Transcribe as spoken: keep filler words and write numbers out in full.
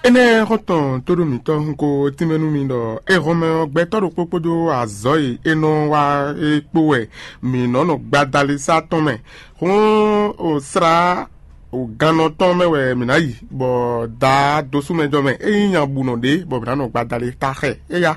Énɛ́ xɔ́ntɔn tóɖó mǐtɔn hun ko tínmɛ nú mi ɖɔ éhɔnmɛ ɔ́, gbɛtɔ́ ɖokpó kpódó azɔ̌ e é nɔ wa é kpó wɛ mǐ nɔ́ nɔ gbadalisa tɔn mɛ. Hǔn o slá o gannɔ tɔn mɛ wɛ mǐ ná yi, bɔ daa dosúmɛjɔ mɛ é nyí nya bǔ nɔ ɖě, bɔ mǐ ná nɔ gbadalisa xɛ éya.